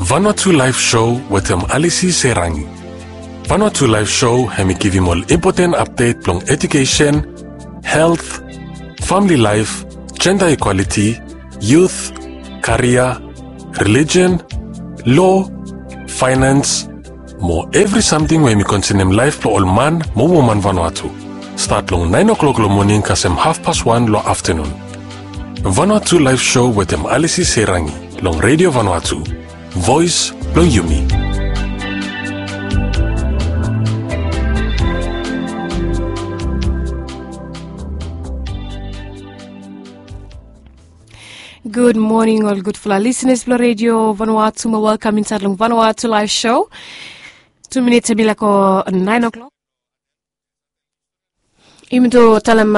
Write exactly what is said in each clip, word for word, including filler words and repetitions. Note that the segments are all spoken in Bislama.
Vanuatu Live Show wetem Alisi Serangi. Vanuatu Live Show hemi givim ol impoten apdet blong edukesen, helt, famili laef, jenda ikwaliti, yut, karia, relijen, lo, faenans, mo evri samting we hemi konsenem laef blong ol man mo woman Vanuatu. Stat long naen oklok long moning kasem hafpas wan long aftenun. Vanuatu Live Show wetem Alisi Serangi long Redio Vanuatu, voes blong yumi. Gud moning ol gudfala lisenas blong Redio Vanuatu, mo welkam insaed long Vanuatu Live Show. Tu minits hemi laek go naen oklok. Yumi tu talem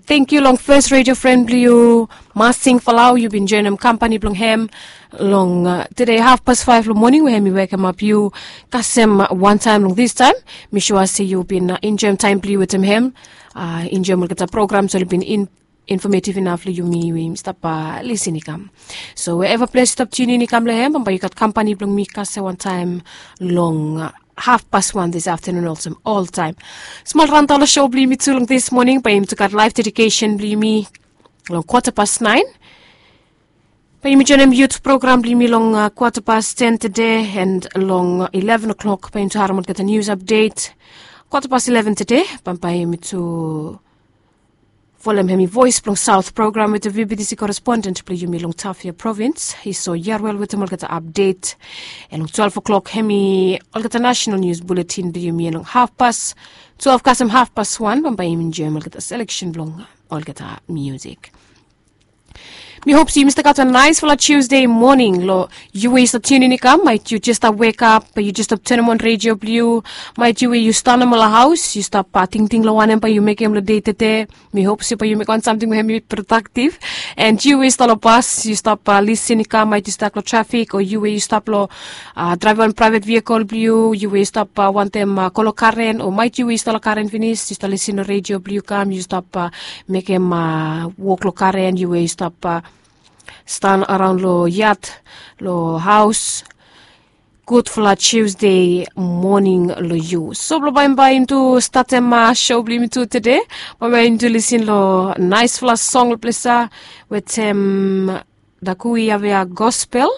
tangkiu long fes redio fren blong yu, Masing Falau, yu bin joenem kampani blong hem long tede hafpas faef long moning we hemi wekemap yu kasem wantaem long distaem. Mi sua se yu bin enjoem taem blong yu wetem hem, enjoem olgeta programs we oli bin infometiv inaf long yumi we yumi stap lisin i kam. So weeva ples yu stap tiunin i kam long hem, bambae yu gat kampani blong mi kasem wantaem long hafpas wan dis aftenun olsem oltaem. Smol raontaon long sou blong yumi tu long dis moning, bae yumi tu gat laef dedikesen blong yumi long kwata pas naen. Bae yumi joenem yut program blong yumi long kwata pas ten tede, en long ileven oklok bae yumi tu harem olgeta nius apdet. Kwata pas ileven tede bambae yumi tu folem hemi Voes blong Saot program wetem VBTC koresponden blong yumi long Tafea provins, Iso Yarwel, wetem olgeta apdet. En long twelef oklok hemi olgeta nasenal nius buletin blong yumi, en long hafpas twelef kasem hafpas wan bambae yumi joenem olgeta seleksen blong olgeta miusik. Mi hop se yumi stap gat wan naesfala Tiusde moning long yu we yu stap tiunin i kam. Maet yu jes stap wekap, bae yu jes stap tanem on redio blong yu. Maet yu we yu stap nomo long haos, yu stap tingting long wanem bae yu mekem long dei tede. Mi hop se bae yu mekem wan samting we hemi prodaktif. En yu we yu stap long bas, yu stap lisin i kam, maet yu stak long trafik, o yu we yu stap long draevem wan praevet vehikel blong yu, yu we yu stap wantem go long karen, o maet yu we yu stap long karen finis, yu stap lisin long redio blong yu kam, yu stap mekem wok long karen, yu we yu stap stan araon long yat, long haos. Gudfala Tiusde moning long yu. So blong bambae yumi tu statem sou blong yumi tu tede, bambae yumi tu lisin long naesfala song long ples ya wetem Dakui Avea Gospel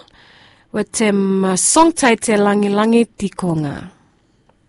wetem song taetel Langilangi Tikonga.